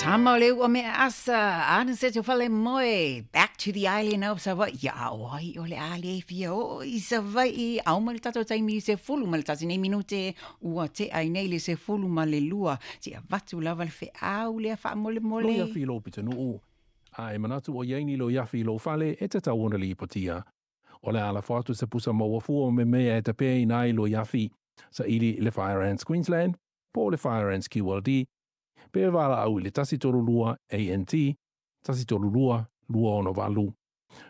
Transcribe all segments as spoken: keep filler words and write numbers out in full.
Tama o le ua mea asa, ana se te whale moe, back to the island of Savaii. Ia o ai o le ale fia o i Savaii, au ma le tatou taimi se fulu ma le tasi nei minute, ua te ai nei le se fulu ma le lua, te avatu lava le feau lea faamolemole. Lo iafi lo pitanuu, a e manatu o iaini lo iafi lo fale e tatau ona lipotia. O le ala fatu se pusa maua fua me mea e tapea ina ai lo iafi sa ili le Fire Ants Queensland, po le Fire Ants Q L D, pe vala au i le tasi tolu lua A N T, tasi tolu lua, lua ono valu.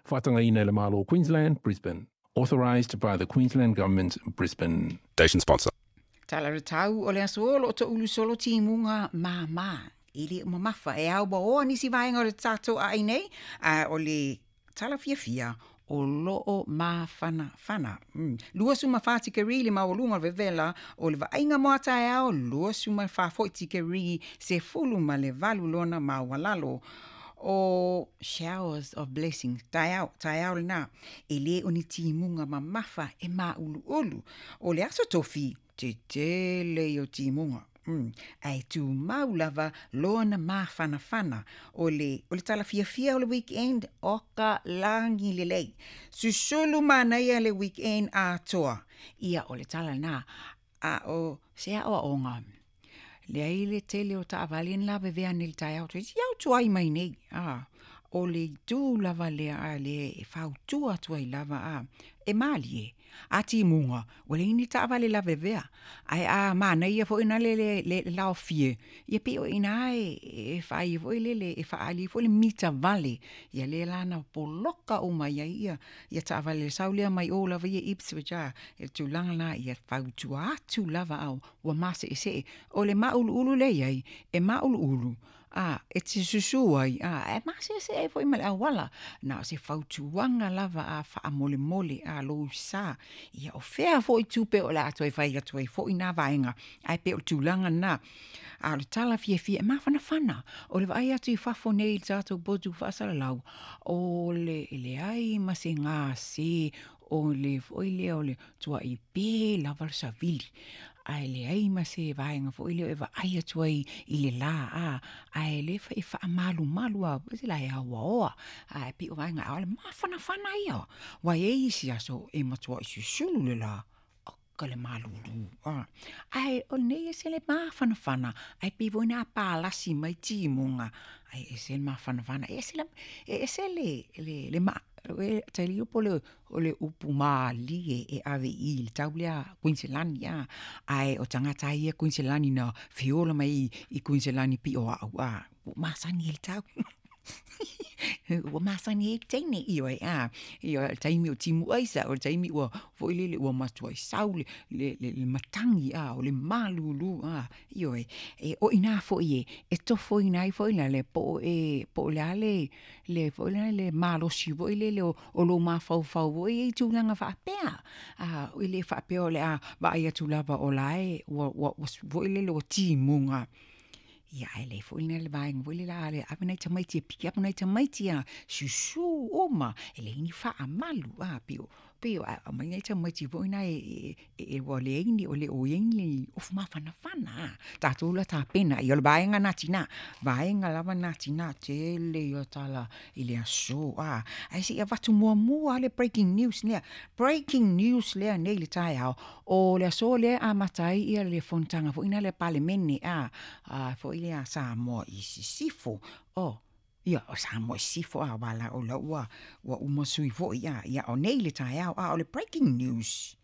Whatangaina i le Malo Queensland, Brisbane. Authorised by the Queensland Government, Brisbane. Station sponsor. Tala re tau o le aso o to ulu solo timunga māmā. I le mamafa e au oa nisi vaenga o le tātou ai nei, a o le tala fiafia o loo mawhana whana. Mm. Lua suma wha tikeri le mawalunga o vevela o le vainga moata e ao, lua suma wha foi tikeri se fulu ma le valu lona mawalalo. O showers of blessings, taeao, taeao lena, e le o ni timunga mamafa e maulu ulu. O le aso tofi, te tele i o timunga. Mm. Ai tū mau lava lona mawhanawhana o le, o le tala fiafia o le weekend o ka langi lelei. Susulu manaia le weekend atoa. Ia o le tala nā a o se a o onga. Le ai le tele o taavale ni lawe vea ni le taeao tu. Iau tuai mai nei. Ah, o le tū lava lea a le e fautua atu ai lava a e malie. A timunga, o le ini taavale lawe vea. Ai a mana ia fo ina le le le lao fie. Ia pe o ina e e whai fo le le e whaali fo le mita vale. Ia le lana poloka o mai ia ia. Ia taavale saulea mai o lava ia Ipswich a. E tūlanga la ia fautua atu lava au. Ua mase e se. O le maulu ulu le iai. E maulu ulu. A, e te susu ai, a, e mase se e foi ma le awala. Na se fautuanga lava a whaamolemole a lou sa. Ia o fea foi tupe o le atu e whai atu e foi nā vaenga. Ai pe o tūlanga nā. A le tala fia fia e mawhanawhana. O le vai atu i whafo nei i tātou botu whaasalalau. O le le ai ma se ngā se o le foi lea o le tua i pe lava le savili. Ai le ai ma se vaenga foi lea e vaai atu ai i le la a. Ai le fa e whaamalu malu a se la e aua oa. Ai pi o vaenga a le mawhanawhana ia. Wai e isi aso e matua i susulu le la. Ka le malulu. Ah. Ai o nei e se le mawhanawhana. Ai pi voi nā pālasi mai timunga. Ai e se le mawhanawhana. E se le, e se le, le, le ma, e tali upo le, o le upu maali e, e ave i le tau lea Queensland ia. Ai o tangata ia Queensland na fiola mai i Queensland pi o au a. O masani e le tau. Ua masani e teine i oe a. I oe taimi o timu aisa, o taimi ua foi lele ua matua i sau le, le, le, le matangi a, o le malulu a. I oe, e, o ina foi e, e tofo ina i foi la le po e, po le ale, le foi la le malosi foi lele o, o lo mafaufau foi e tūlanga whaapea. A, o le whaapea o le a, vaai atu lava o la e, ua, ua, ua, foi lele o timunga. Ia ai le foi le vaenga foi le la le ape nei tamaiti e piki ape nei tamaiti a susu oma e le ini whaamalu a pio pio a mai nei tamaiti foi na e e e wa le ini o le o ini le ofu mawhanawhana tātou la tāpena i o le vaenga nā tina vaenga lava nā tina tele i o tala i le aso a ai si a watu mua mua le breaking news lea breaking news lea nei le taeao o le aso lea a matai ia le fontanga foi na le palemene a a foi lea Samoa i sisifo o ia o Samoa i sisifo a wala o la ua ua umasui foi ia ia o nei le taeao a o le breaking news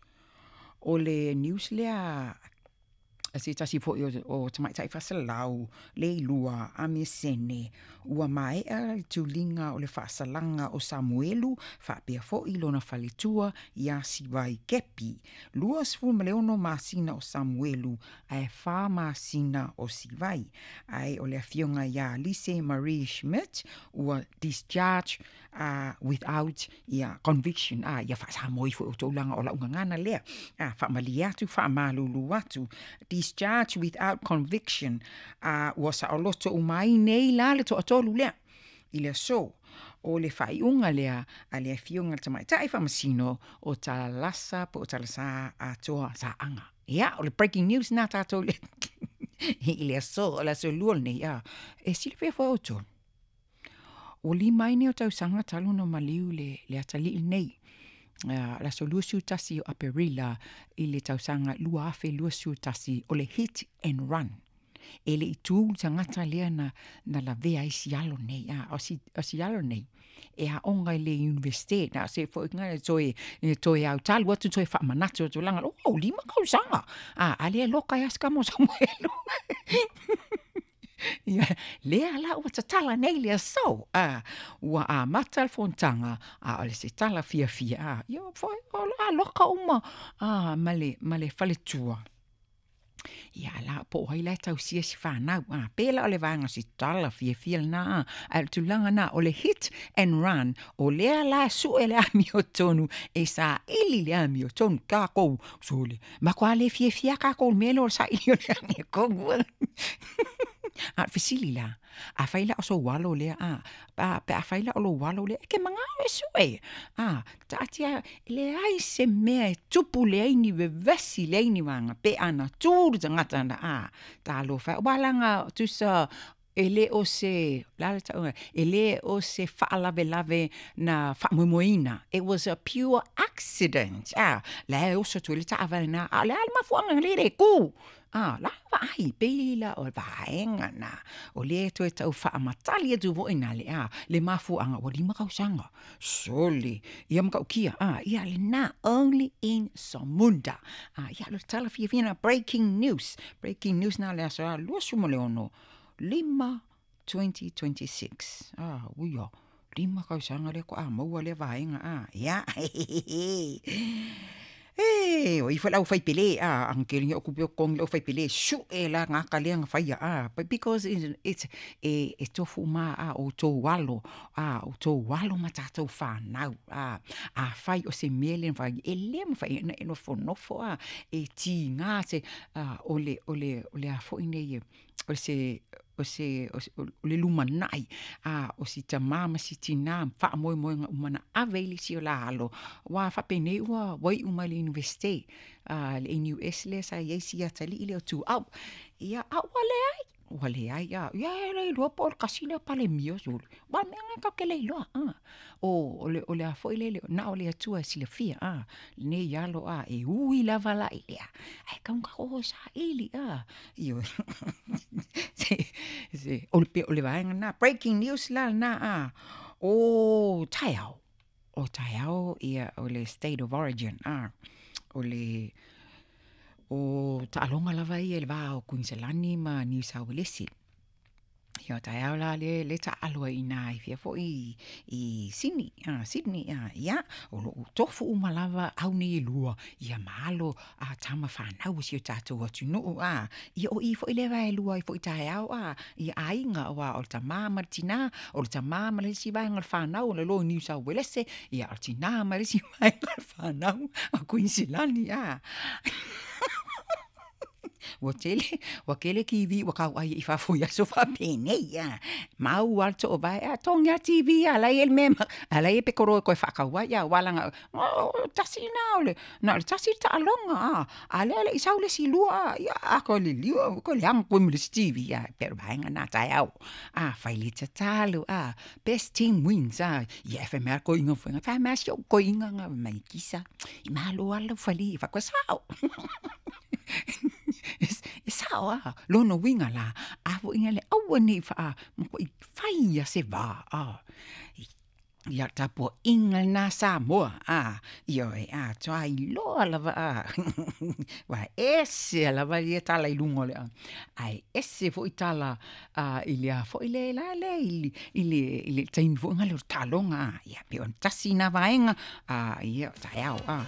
o le news lea a se tasi foi o, o tamaitai fasalau le lua a mesene ua maea le tulinga o le faasalanga o Samuelu faapea foi lona faletua ia Sivai Kepi. Lua sefulu ma le ono masina o Samuelu ae whā masina o Sivai. Ae o le afioga ia Lise Marie Schmidt ua discharge uh, without ia conviction a ia faasamoa ifo o tolaga o laugagana lea a faamalie atu faamalulu atu discharge without conviction a ua saoloto uma ai nei la le toatolu lea i le aso o le faaiuga lea a le afioga le tamaitai faamasino o Talasa po o Talasa atoa saaga. Ia o le breaking news na tatou le I le aso, o le aso lua lenei, a. E silafia foi outou. Ua lima ai nei o tausaga talu ona maliu le, le atalii lenei. Uh, le aso luasefulu tasi o Aperila i le tausaga lua afe luasefulu tasi o le hit and run. E le i tu le tagata lea na, na lavea ai si alo nei. A, o si, o si alo nei. E aoga i le universite. Na se foi nga toe, toe au talu atu toe faamanatu atu langa. Oh, lima tausaga. A, a lea loka e aska mo Samuelu. Ia, lea la ua tatala nei le aso. A, ua amata le fonotaga, a o le se tala fiafia. A, ia, foi, o la loka uma, a, ma le, ma le faletua. Ia, la, po o ai la e tausia si whanau. A, pela o le vaega si tala fiafia lena. A, a le tulaga na, o le hit and run, o lea la sue le amiotonu, e saili le amiotonu, kākou, sole. Ma koa le fiafia kākou le mea lea o le saili o le amiotonu. A fesili la, a fai la o sou alo lea, a, a, pe a fai la o lou alo lea, e ke mangao e sue. A, taatia, leai se mea e tupu leai ni vevesi leai ni vaega, pe ana tu le tagata na, a, talofa. Ua laga tusa, e le o se, la le tauga, e le o se faalavelave na faamoemoeina. It was a pure accident. A, la e oso atu i le taavale na, a o le a le mafuaaga le le ku. A, la vaai, pei la o le vaega na, o lea toe tau faamatali atu foi na le a, le mafuaaga, ua lima tausaga. Sole, ia matautia, a, ia lena, only in Samunda. A, ia le tala fiafia na, breaking news, breaking news na le aso a, luasefulu ma le ono, lima twenty twenty-six. Ah, uia, lima tausaga lea ko a maua lea vaega, a, ia, E, o ifo lau fai pele, a, ang kele o kupe o kongi lau fai pele, su e la ngā kalea ngā whaia, a, but because it's, it's e, e tofu ma, a, o tō alo, a, o tō alo ma tātou whānau, a, a whai o se mele whai, e le ma whai, e nofo nofo, a, e tī ngā te, a, o le, o le, o le a foi nei, o se, o se, o se, o le lumanai, a, o si tamā ma si tinā, whaamoemoenga umana ave i le si o la alo. Wā whapenei ua, wai uma le universite, a, le N U S le sa iai si atalii le o tu au. Ia, a, ua le ai, ua le ai, a, ia, e le iloa po o le kasi lea pale mio sulu. Wā mea ngai kau ke le iloa, a. O, o le, o le a foi le, le, na o le atua silafia, a, nei alo, a, e ui lava la i lea. Ai, kaunga o sa ili, a. Io, se, se, o le pe, o le vaega na, breaking news la na, a. O, taeao, o taeao, ia, o le state of origin, a. O le, o taaloga lava ia i le vā o Queensland ma New South Wales. Ia taeao la le, le taalo ai inā i fia foi i, i Sydney, ah, Sydney, ah, ia, o loo tofu uma lava au nei e lua, ia malo a tama whanau o si o tātou atunuu, ah, ia o i foi le vae lua i foi taeao, ah, ia aiga, o a, o le tamā ma le tinā, o le tamā ma le isi vaega o le whanau, o le lo New South Wales, ia o le tinā ma le isi vaega o le whanau, o Queensland, ah. Ua tele, ua kele kiwi, ua kau ai i fafo i aso whapenei, a. Mau al to vai, a tongi a T V, a lai el mema, a lai e pekoro e koe whakau ai, a walanga, o, tasi nā o le, nā le tasi le taaloga, a, a lea le isau le si lua, a, ia, a koe le liua, koe le anga koe mo le T V, a, pero vaenga nā taeao, a, whai le tatalo, a, best team wins, a, ia e whamea koe inga whainga, whamea si o koe inga ngā mai kisa, i malo ala whali, whakua sao. E sao a, lono winga la, a fo inga le aua nei wha, mo i whai a se vā, a. Ia tapo inga nā Samoa, a, ia e a, toa i loa lava, a. Wa ese lava ia tala i lunga le, a. Ai ese fo i tala, a, i le a fo i le la le, i le, i le, i le taimi fo inga le o talonga, a. Ia pe on tasi nā vaenga, a, ia taeao, a.